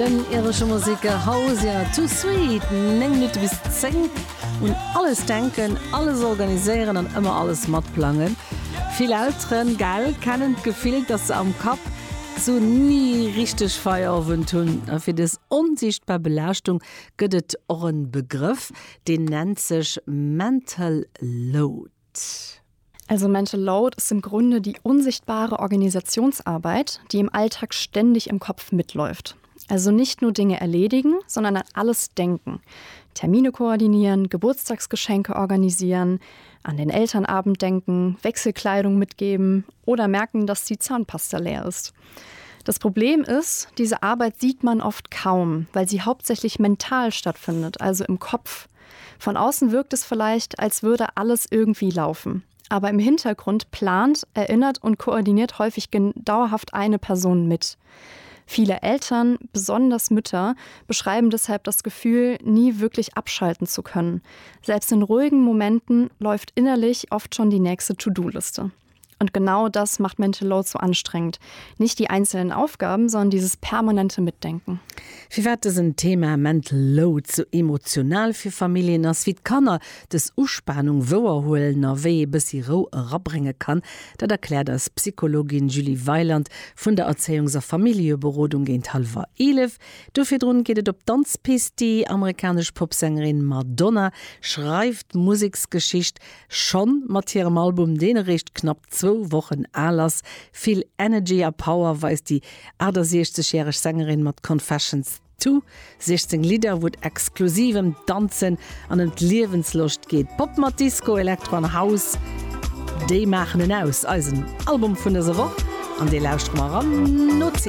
Den iresche Museker Hozier, Too Sweet, 9 Minutte bis 10. Un alles denken, alles organiséieren an ëmmer alles matplangen. Vill Elteren, gell, kennen d'Gefill, dass se am Kapp sou ni richteg Feierowend hunn. A fir dës onsiichtbar Belaaschtung gëtt et och en Begrëff, deen nennt sech Mental Load. Also Mental Load ist im Grunde die unsichtbare Organisationsarbeit, die im Alltag ständig im Kopf mitläuft. Also nicht nur Dinge erledigen, sondern an alles denken. Termine koordinieren, Geburtstagsgeschenke organisieren, an den Elternabend denken, Wechselkleidung mitgeben oder merken, dass die Zahnpasta leer ist. Das Problem ist, diese Arbeit sieht man oft kaum, weil sie hauptsächlich mental stattfindet, also im Kopf. Von außen wirkt es vielleicht, als würde alles irgendwie laufen. Aber im Hintergrund plant, erinnert und koordiniert häufig dauerhaft eine Person mit. Viele Eltern, besonders Mütter, beschreiben deshalb das Gefühl, nie wirklich abschalten zu können. Selbst in ruhigen Momenten läuft innerlich oft schon die nächste To-Do-Liste. Und genau das macht Mental Load so anstrengend. Nicht die einzelnen Aufgaben, sondern dieses permanente Mitdenken. Firwat dësen Thema Mental Load sou emotional fir Familljen ass, wéi d'Kanner dës Uspanung wouerhuelen a wéi ee bëssi Rou erabrénge kann, dat erkläert eis d'Psychologin Julie Weiland vun der Erzéiungs a Familljeberodung géint hallwer 11. Do virdrun geet et op d'Danzpist. Déi amerikanesch Popsängerin Madonna schreift Museksgeschicht Schonn mat hirem Album, deen eréischt knapp zwou Wochen al ass. Vill Energy a Power weist déi 68 järeg Sängerin mat Confessions Two, 16 Lidder, wou et exklusiv ëm d'Danzen an ëm d'Liewensloscht geet. Pop mat Disco, Elektro an House, déi maachen en aus. Eisen Album vun dëser Woch an dee lauschtere mer eran no 10.